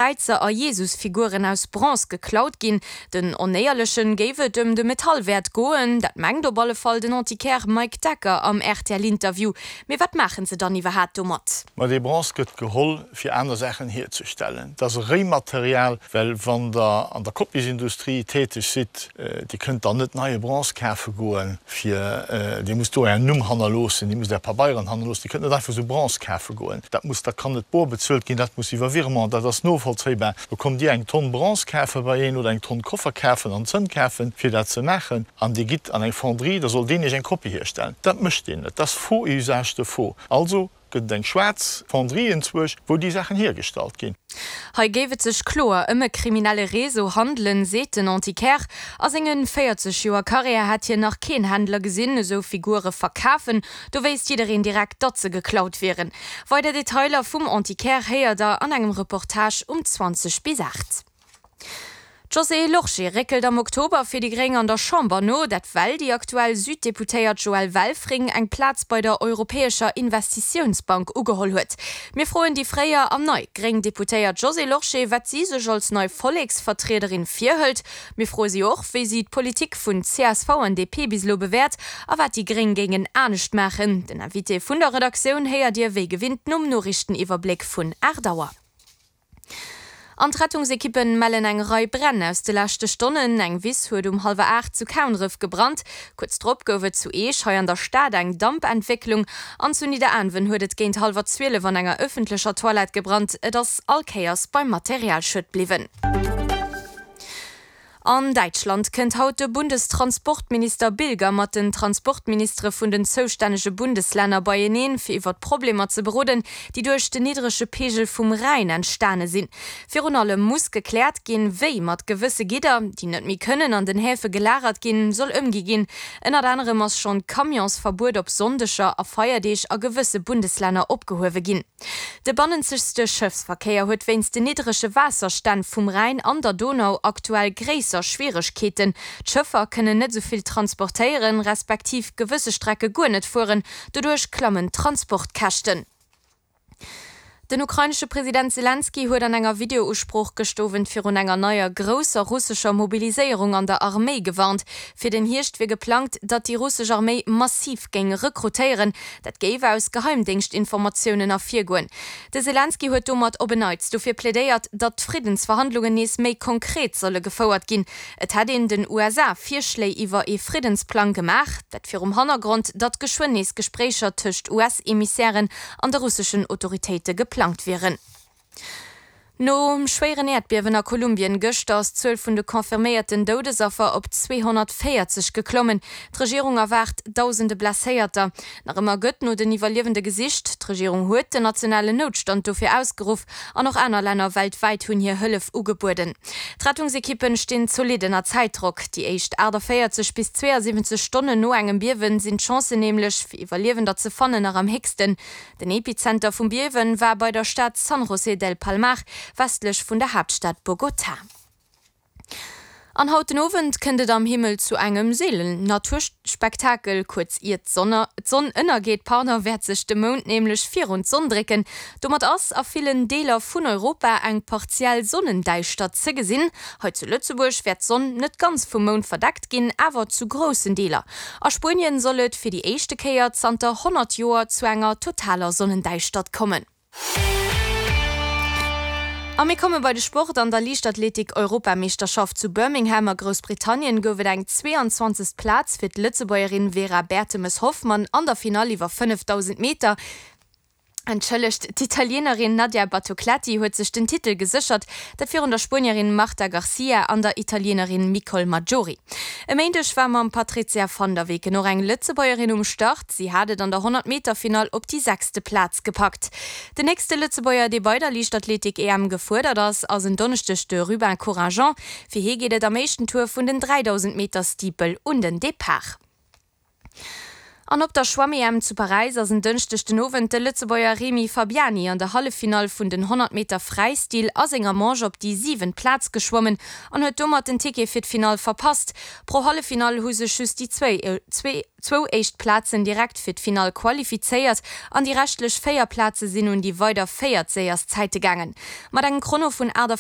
Kräizer a Jesusfiguren aus Bronze geklaut ginn. Den Onéierlechen géif et ëm de Metallwäert goen, dat mengt op alle Fall den Antiquaire Mike Decker am RTL-Interview. Mee wat maachen se dann iwwerhaat domat? Ma dee Bronze gëtt geholl fir aner Saachen hierzestellen. Dat ass e Réimaterial, well wann Der an der Kopiesindustrie täteg sidd, Dir kënnt dann net neie Bronze kafe goen, fir, Dir musst do Ären Numm hannerloossen, Dir musst Är Pabeieren hannerloossen. Dir kënnt net einfach esou Bronze kafe goen. Dat muss, dat kann net bor bezuelt ginn, dat muss iwwer Virement, dat ass novollzéibar. Do kommt Dir eng Tonn Bronze kafe bei een oder eng Tonn Koffer kafen an Zënn kafen, fir dat ze maachen, an Dir gitt an eng Fonderie, da soll deen Iech eng Kopie hierstellen. Dat mécht deen net. Dat ass faux et usage de faux. Also Gëtt et eng schwaarz Fonderie enzwuesch, wou déi Saachen hiergestallt ginn? Hei géif et sech kloer ëm e kriminelle Réseau handelen, seet den Antiquaire. A senge 40 Joer Karriär hätt hien nach keen Händler gesinn, esou Figure verkafen. Do wéisst jiddereen direkt, datt se geklaut wieren. Weider Detailer vum Antiquaire héiert der an engem Reportage um 20 bis 8. D'Josée Lorsché réckelt am Oktober fir déi Gréng an der Chamber no. Dat well déi aktuell Süddeputéiert Joëlle Welfring eng Plaz bei der Europäescher Investitiounsbank ugeholl huet. Mir froen déi fréier an nei gréng Deputéiert Josée Lorsché, wat si sech als nei Volleksvertriederin virhëlt. Mir froe si och, wéi si d'Politik vun csv an DP bis elo bewäert a wat déi Gréng géingen anescht maachen. Den Invité vun der Redaktioun héiert Dir wéi gewinnt nom Noriichteniwwerbléck vun 8 Auer. An d'Rettungsekippen mellen eng Rei Bränn aus de leschte Stonnen. Eng Wiss huet um hallwer 8 zu Kaunref gebrannt. Kuerz drop gouf et zu Eech hei an der Stad eng Dampentwécklung. An zu Nidderaanwen huet et géint hallwer 12 an enger ëffentlecher Toilette gebrannt. Et ass all Kéiers beim Materialschued bliwwen. An Däitschland kënnt haut de Bundestransportminister Bilger mat den Transportministere vun den zoustännege Bundeslänner beieneen, fir iwwer d'Problemer ze beroden, déi duerch den niddrege Peegel vum Rhäin entstane sinn. Virun allem muss gekläert ginn, wéi mat gewësse Gidder, déi net méi kënnen an den Häfe gelagert ginn, soll ëmgi ginn. Ënnert anerem ass schonn d'Camionsverbuet op Sonndeger a Feierdeeg a gewësse Bundeslänner opgehuewe ginn. De bannenzegste Schëffsverkéier huet wéinst den niddrege Waasserstänn vum Rhäin an der Donau aktuell gréisser Schwieregkeeten. D'Schëffer kënnen net esou vill transportéieren, respektiv gewësse Strecke guer net fueren. Doduerch klammen d'Transportkäschten. Den ukrainesche President Selenskyj huet an enger Videousprooch gëscht Owend virun enger neier grousser russescher Mobiliséierung an der Arméi gewarnt. Fir den Hierscht wier geplangt, datt déi russesch Arméi massiv géing rekrutéieren. Dat géif aus Geheimdéngschtinformatiounen ervirgoen. De Selenskyj huet domat op en Neits dofir plädéiert, datt d'Friddensverhandlungen nees méi konkret solle gefouert ginn. Et hätt een den USA Virschléi iwwer ee Friddensplang gemaach, dat virum Hannergrond, datt geschwënn nees Gespréicher tëscht US-Emissairen an de russeschen Autoritéite geplangt wieren. Nom schwéieren Äerdbiewen a Kolumbien gëschter ass d'Zuel vun de confirméierten Doudesaffer op 240 geklommen. D'Regierung erwaart dausende Blesséierter. Nach ëmmer gëtt no den Iwwerliewende gesicht. D'Regierung huet den nationalen Noutstand dofir ausgeruff an och aner Länner weltwäit hunn hir Hëllef ugebueden. D'Rettungsekippen stinn zolidd ënner Zäitdrock. Déi éischt 48 bis 72 Stonnen no engem Biewen sinn d'Chancen nämlech, fir Iwwerliewender ze fannen, nach am héchsten. Den Epizenter vum Biewen war bei der Stad San José del Palmar, westlech vun der Haaptstad Bogotá. An haut den Owend kënnt et am Himmel zu engem seelenen Naturspektakel. Kuerz ier d'Sonn ënnergeet, pardon, wäert sech de Mound nämlech virun d'Sonn drécken. Domat ass a villen Deeler vun Europa eng partiell Sonnendäischtert ze gesinn. Hei zu Lëtzebuerg wäert d'Sonn net ganz vum Mound verdeckt ginn, awer zu groussen Deeler. A Spuenien soll et fir déi éischte Kéier zanter 100 Joer zu enger totaler Sonnendäischtert kommen. A mir komme bei de Sport. An der Liichtathletik-Europameeschterschaft zu Birmingham a Groussbritannien gouf et eng 22. Plaz fir d'Lëtzebuergerin Vera Bertemes-Hoffmann an der Finall iwwer 5000 Meter. Entschëllegt, d'Italienerin Nadia Battocletti huet sech den Titel geséchert, dat virun der Spuenierin Marta Garcia an der Italienerin Micol Maggiori. E Méindeg war mam Patrizia van der Weken och eng Lëtzebuergerin um Start. Si hat et an der 100 Meter Finall op déi sechste Plaz gepackt. Den nächste Lëtzebuerger, dee bei der Liichtathletik-EM gefuerdert ass, ass en Donneschdeg de Rubin Couragent. Fir hie geet et am éischten Tour vun den 3000 Meter Steeple un den Depart. An op der Schwamm-EM zu Paräis ass en Dënschdeg den Owend de Lëtzebuerger Rémi Fabiani an der Halleffinall vun den 100 Meter Fräistil a senger Manche op déi siwent Plaz geschwommen an huet domat den Ticket fir d'Finall verpasst. Pro Halleffinall hu sech just déi zwou éischt Plazen direkt fir d'Finall qualifizéiert an déi reschtlech 4 Plaze sinn un déi weider véiert séierst Zäite gaangen. Mat engem Chrono vun 48.